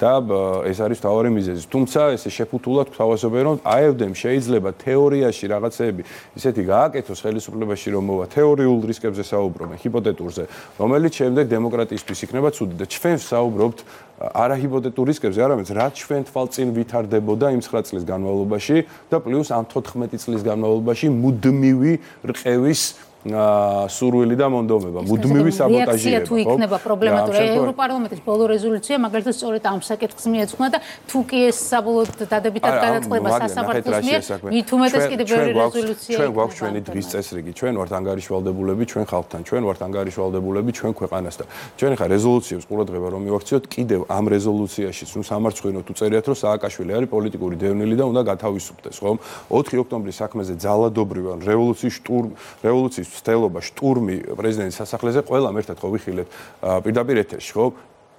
და ეს არის მთავარი მიზეზი. თუმცა ესე შეფუთულად გვთავაზობენ, რომ AfD-მ შეიძლება თეორიაში რაღაცეები ისეთი გააკეთოს ხელისუფლებაში, რომ მოვა თეორიულ რისკებზე საუბრობენ, ჰიპოთეტურზე, რომელიც შემდეგ დემოკრატიისთვის იქნება ცუდი და ჩვენ ვსაუბრობთ არა ჰიპოთეტურ რისკებზე, არამედ რაც ჩვენ თვალწინ ვითარდებოდა იმ 9 წლის განმავლობაში და პლუს ამ 14 წლის განმავლობაში მუდმივი რყევის სურვილი და მონდომება, მუდმივი საბოტაჟირება. თუ იქნება პრობლემატური ევროპარლამენტის ბოლო რეზოლუცია, მაგალითად სწორედ ამ საკითხს მიეძღვნა და თუ კი ეს საბოლოოდ დადებითად გადაწყდება სასამართლოს მიერ, მით უმეტეს კიდევ ბევრი რეზოლუცია. ჩვენ გვაქვს ჩვენი დღის წესრიგი, ჩვენ ვართ ანგარიშვალდებულები ჩვენ ხალხთან, ჩვენ ვართ ანგარიშვალდებულები ჩვენ ქვეყანასთან. ჩვენ ხა რეზოლუციებს ყურადღება რომ მივაქციოთ, კიდევ ამ რეზოლუციაში თუ სამარცხვინო თუ წერიათ რომ სააკაშვილი არის პოლიტიკური დევნილი და უნდა გათავისუფლდეს, ხომ? 4 ოქტომბრის საქმეზე ძალადობრივი რევოლუციის სტელობა შტურმი პრეზიდენტის სასახლეზე ყველამ ერთად ხო ვიხილეთ პირდაპირ ეთერში ხო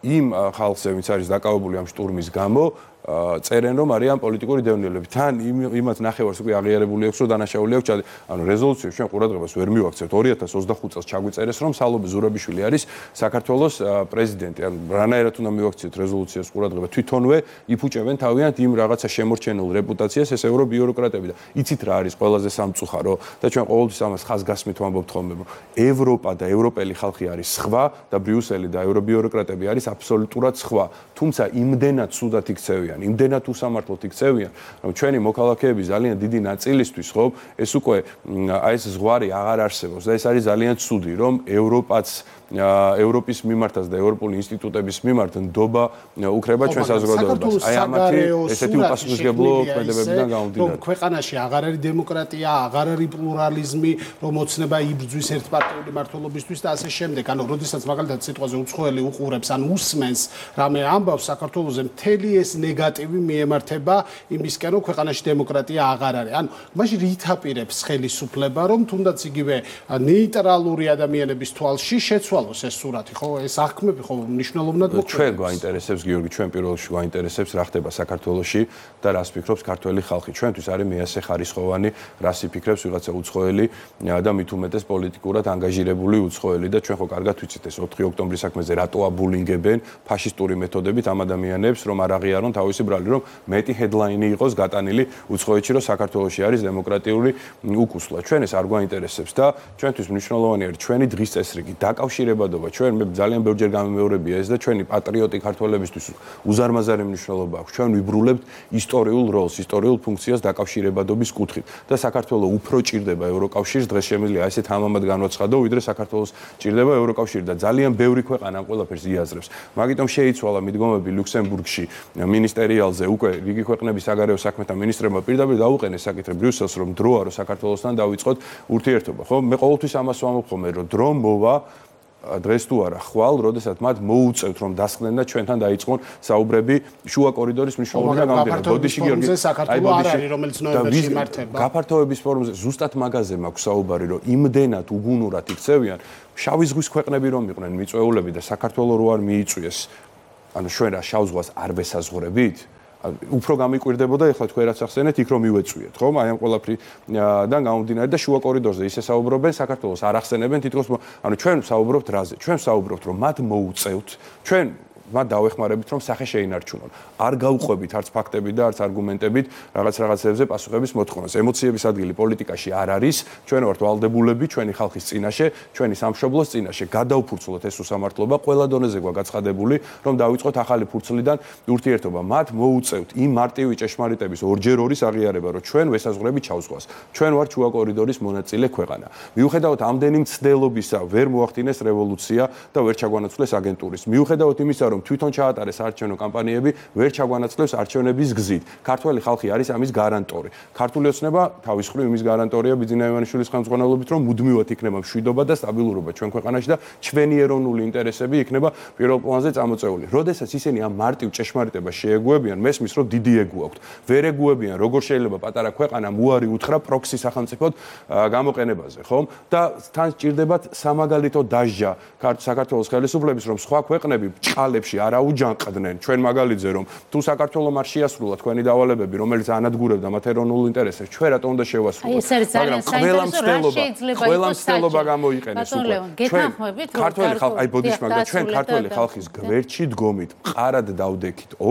იმ ხალხზე ვინც არის დაკავებული ამ შტურმის გამო წერენ რომ არიან პოლიტიკური დევნილები თან იმათ ნახევარს უკვე აღიარებული აქვს რომ დანაშაული აქვს ანუ რეზოლუციებს ჩვენ ყურადღებას ვერ მივაქცევთ 2025 წელს ჩაგვიწერეს რომ სალობე ზურაბიშვილი არის საქართველოს პრეზიდენტი ანუ რანაირად უნდა მივაქციოთ რეზოლუციებს ყურადღება თვითონვე იფუჭებენ თავიანთ იმ რაღაცა შემორჩენილ რეპუტაციას ეს ევრობიუროკრატები და იცით რა არის ყველაზე სამწუხარო და ჩვენ ყოველთვის ამას ხაზგასმით ვამბობთ ხოლმე რომ ევროპა და ევროპელი ხალხი არის სხვა და ბრიუსელი და ევრობიუროკრატები არის აბსოლუტურად სხვა თუმცა იმდენად ცუდად იქცევიან იმდენად უსამართლოდ იქცევიან, რომ ჩვენი მოქალაქეების ძალიან დიდი ნაწილისთვის, ხო, ეს უკვე აი ეს ზღვარი აღარ არსებობს და ეს არის ძალიან ცუდი, რომ ევროპის მიმართაც და ევროპული ინსტიტუტების მიმართ ნდობა უკრება ჩვენ საზოგადოებას. აი ამათი ესეთი უპასუხისმგებლო ქმედებებიდან გამომდინარე. რომ ქვეყანაში აღარ არის დემოკრატია, აღარ არის პლურალიზმი, რომ ოცნება იბრძვის ერთპარტიული მმართველობისთვის და ასე შემდეგ. ანუ როდესაც მაგალითად სიტყვაზე უცხოელი უყურებს ან უსმენს რამე ამბავს საქართველოზე მთელი ეს ნეგატივი მიემართება იმისკენ, რომ ქვეყანაში დემოკრატია აღარ არის. ანუ მაშინ რით აპირებს ხელისუფლება, რომ თუნდაც იგივე ნეიტრალური ადამიანების თვალში შეცვალოს ეს სურათი, ხო? ეს აღქმები ხო მნიშვნელოვნად მოქმედებს. ჩვენ გვაინტერესებს, გიორგი, ჩვენ პირველ რიგში გვაინტერესებს რა ხდება საქართველოში და რას ფიქრობს ქართველი ხალხი. ჩვენთვის არის მეასე ხარისხოვანი, რას იფიქრებს ვიღაცა უცხოელი და მით უმეტეს პოლიტიკურად ანგაჟირებული უცხოელი და ჩვენ ხო კარგად ვიცით ეს 4 ოქტომბრის საქმეზე რატო აბულინგებენ ფაშისტური მეთოდებით ამ ადამიანებს, რომ არ აღიარონ თავისი ბრალი, რომ მეტი ჰედლაინი იყოს გატანილი უცხოეთში, რომ საქართველოში არის დემოკრატიული უკუსლა. ჩვენ ეს არ გვაინტერესებს და ჩვენთვის მნიშვნელოვანი არის ჩვენი დღის წესრიგი, დაკავშირებადობა. ჩვენ მე ძალიან ბევრჯერ გამიმეორებია ეს და ჩვენი პატრიოტი ქართველებისთვის უზარმაზარი მნიშვნელობა აქვს. ჩვენ ვიბრულებთ ისტორიულ როლს, ისტორიულ ფუნქციას დაკავშირებადობის კუთხით და საქართველოს უფრო ჭირდება ევროკავშირს, დღეს შემიძლია ესეთ ამამად განვაცხადო, ვიდრე საქართველოს ჭირდება ევროკავშირი და ძალიან ბევრი ქვეყანა ამ ყველაფერს იაზრებს. მაგიტომ შეიცვალა მიდგომები ლუქსემბურგში მინისტერიალზე უკვე რიგი ქვეყნების საგარეო საქმეთა მინისტრებმა პირდაპირ დაუყენეს საკითხი ბრიუსელს რომ დროა რომ საქართველოსთან დავიწყოთ ურთიერთობა ხო მე ყოველთვის ამას ვამბობ ხოლმე რომ დრო მოვა დღეს თუ არა ხვალ როდესაც მათ მოუწევთ რომ დასხდნენ და ჩვენთან დაიწყონ საუბრები შუა კორიდორის მნიშვნელობიდან გამომდინარე ბოდიში გიორგი საქართველოს არ არის რომელიც ნოემბერში იმართება გაფართოების ფორუმზე ზუსტად მაგაზე მაქვს საუბარი რომ იმდენად უგუნურად იქცევიან შავი ზღვის ქვეყნები რომ იყვნენ მიწვეულები და საქართველოს რო არ მიიწვიეს ანუ ჩვენ რა შავ ზღვას არ ვესაზღვრებით უფრო გამიკვირდებოდა ეხლა თქვენ რაც ახსენეთ იქ რომ მივეწვიეთ ხომ აი ამ ყველაფრიდან გამომდინარე და შუა კორიდორზე ისე საუბრობენ საქართველოს არ ახსენებენ თითქოს ანუ ჩვენ საუბრობთ რაზე ჩვენ საუბრობთ რომ მათ მოუწევთ ჩვენ მათ დავეხმარებით რომ სახე შეინარჩუნონ. არ გავყვებით არც ფაქტებით და არც არგუმენტებით რაღაცებზე პასუხების მოთხოვნას. ემოციების ადგილი პოლიტიკაში არ არის. ჩვენ ვართ ვალდებულები ჩვენი ხალხის წინაშე, ჩვენი სამშობლოს წინაშე. გადავფურცლოთ ეს უსამართლობა, ყველა დონეზე გაცხადებული, რომ დავიწყოთ ახალი ფურცლიდან ურთიერთობა. მათ მოუწევთ იმ მარტივი ჭეშმარიტების ორჯერ ორის აღიარება, რომ ჩვენ ვესაზღვრებით ჩავზღვას. ჩვენ ვართ შუა კორიდორის მონაწილე ქვეყანა. მიუხედავად ამდენი მცდელობისა, ვერ მოახდინეს რევოლუცია და ვერ ჩაგვანაცვლეს აგენტურის. მიუხედავად იმისა, რომ თვითონ ჩაატარეს არჩევნო კამპანიები, ვერ ჩაგვანაცვლებს არჩევნების გზით. ქართველი ხალხი არის ამის გარანტორი. ქართული ოცნება თავის მხრივ იმის გარანტორია ბიძინა ივანიშვილის ხელმძღვანელობით, რომ მუდმივად იქნება მშვიდობა და სტაბილურობა ჩვენ ქვეყანაში და ჩვენი ეროვნული ინტერესები იქნება პირველ პლანზე წამოწეული. როდესაც ისინი ამ მარტივ ჭეშმარიტებას შეეგუებიან, მესმის რომ დიდი ეგუ აქვთ. ვერ ეგუებიან, როგორ შეიძლება პატარა ქვეყანამ უარი უთხრა პროქსი სახელმწიფოდ გამოყენებაზე, ხომ? და თან სჭირდებათ სამაგალითო დასჯა საქართველოს ხელისუფლების, რომ სხვა ქვეყნები ჭყალებში არ აუჯანყდნენ ჩვენ მაგალითზე რომ თუ საქართველოს არ შეასრულა თქვენი დავალებები რომელიც ანადგურებდა მათ ეროვნულ ინტერესებს ჩვენ რატომ უნდა შევასრულოთ მაგრამ ყველა მცდელობა გამოიყენეს უკვე ქართველი ხალხი აი ბოდიშ მაგრამ ჩვენ ქართველი ხალხის გვერდში დგომით მყარად დავდექით